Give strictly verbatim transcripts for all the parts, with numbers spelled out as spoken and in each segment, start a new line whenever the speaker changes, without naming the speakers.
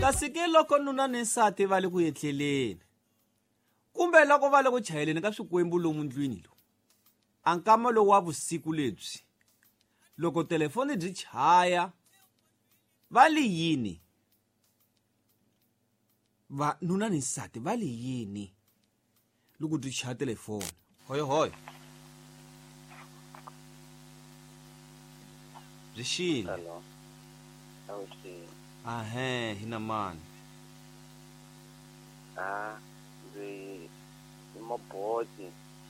Kasi ke loko nuna ni nsati va le ku etleleni kumbe loko va le ku chayeleni ka swikwembu lomu ndlwini lowu, a nkama lowu wa vusiku lebyi loko telefoni byi chaya va li yini? Va nuna ni nsati va li yini loko byi chaya telefoni? Hoyo hoyo byi xile.
Hello. Avuxeni.
Ahee, hina mani?
Ah, ndzi i Maboti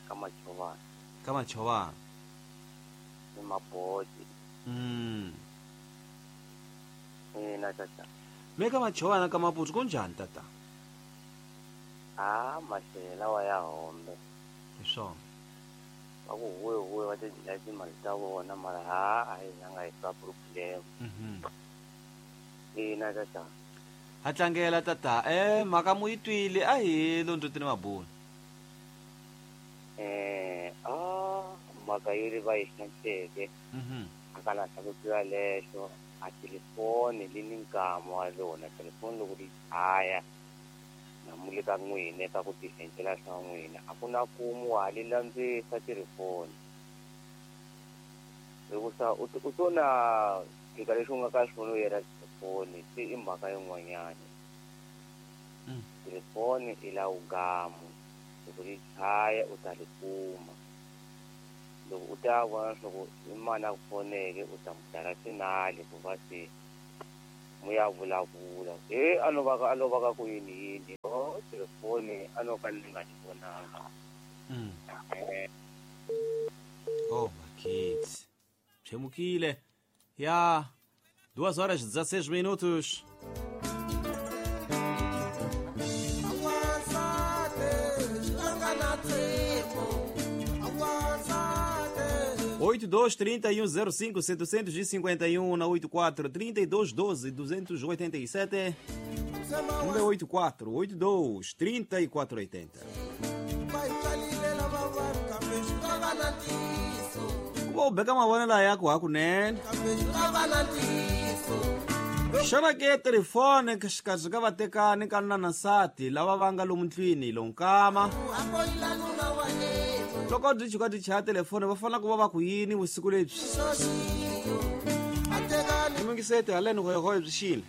ka Machovana.
Ka Machovana.
I Maboti.
Mm.
Ina tata.
Me ka Machovana ka Maputo kunjhani tata?
Ah, maxela wa ya hombe.
Hi swona.
Va ku huwe huwe va ti dlaya timali ta vona mara ha a hi zanga hi twa problem.
Mhm.
Ina tata.
Ha tlangela tata. Eh, mhaka mu yi twile a hi londzotini mabuni.
Eh, ah, mhaka yi ri va yi hlantsweke.
Mhm.
A ka lahla ku tlula lexo a telefoni li ni nkama wa rona telefoni loko ri chaya na mu le ka n'wina ka ku tiendlela swa n'wina a ku na kumu wa li landzisa telefoni hikusa u u to na tshika lexi u nga ka xona u yela telefoni se i mhaka yin'wanyana.
Mm.
Telefoni i la ugamu loko ri chaya u ta ri kuma loko u ta vona leswaku i mani a ku foneke u ta n'wi dlala tinali ku va se mu ya vulavula he a no va ka a no va ka ku yini yini o telefoni a no ka ni nga ni vonanga.
Mm.
Eh,
Oh, my kids. Pshemukile. Ya, duas horas e dezesseis minutos. oito dois três um zero cinco setecentos e cinquenta e um na oito quatro trinta e dois doze duzentos e oitenta e sete um oito quatro oito dois trinta e quatro oitenta. Kuba ubeka mavonelo yako hakunene. Xana ke telefoni xikarhi ka vatekani ka nuna na nsati lava va nga lomu ndlwini lonkama loko byi chuka byi chaya telefoni va fanele ku va va ku yini vusiku lebyi? Mingisete haleni hoyohoyo byi xile.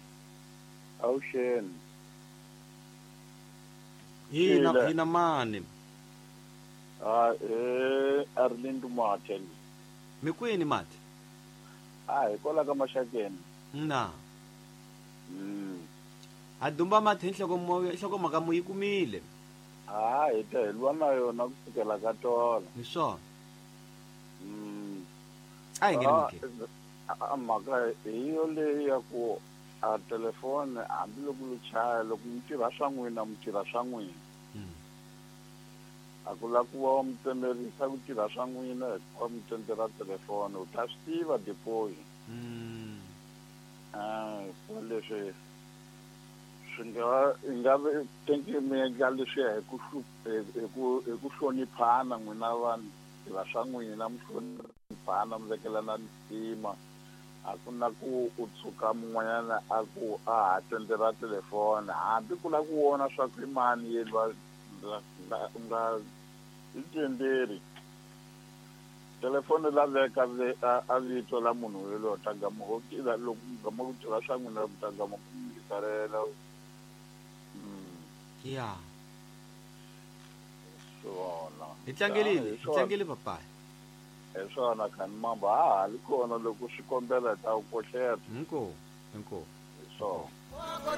Avuxeni.
Hina
Xile.
hina mani?
Ah, eh, Arlindo Mathe.
Mi kwini Mathe?
Ah, hi kwala ka Maxakeni.
Na.
Mm.
Ha dumba Mathe nhloko nhlokomhaka mu yi kumile.
Ah, hi ta hi lwa na yona ku sukela ka tolo.
Hi swona.
Mm.
A hi ngheni
Ah,
mhakeni.
a mhaka hi yo leyi ya ku a telefoni hambiloko yi chaya loko mi tirha swa n'wina mi tirha swa n'wina.
Mm.
A ku la ku va mi tsemerisa ku tirha swa n'wina hikuva mi tsendzela telefoni u ta swi tiva depoyi.
Mm.
Ah, hikuva leswi swi nga i nga ve tenki mi endla leswiya hi ku hlu- hi hi ku hi ku hloniphana n'wina vanhu tirha swa n'wina mi hloniphana mi vekelana ntima a ku na ku u tshuka mun'wanyana a ku a ha tsendzela telefoni hambi ku la ku vona swa ku i mani yena va nga u nga i tenderi telefoni la veka ve- a a vito la munhu yoloye ta gama ho tiva loko mi gama ku tirha swa n'wina mi ta gama ku mi tsalela. Mm,
Ya.
swona.
Hi tlangelile,
Hi
hi
swona.
tlangele papaya.
Hi swona khani mamba ha ha li kona loko swi kombela hi ta ku kohleta.
Inkomu, inkomu.
Hi swona.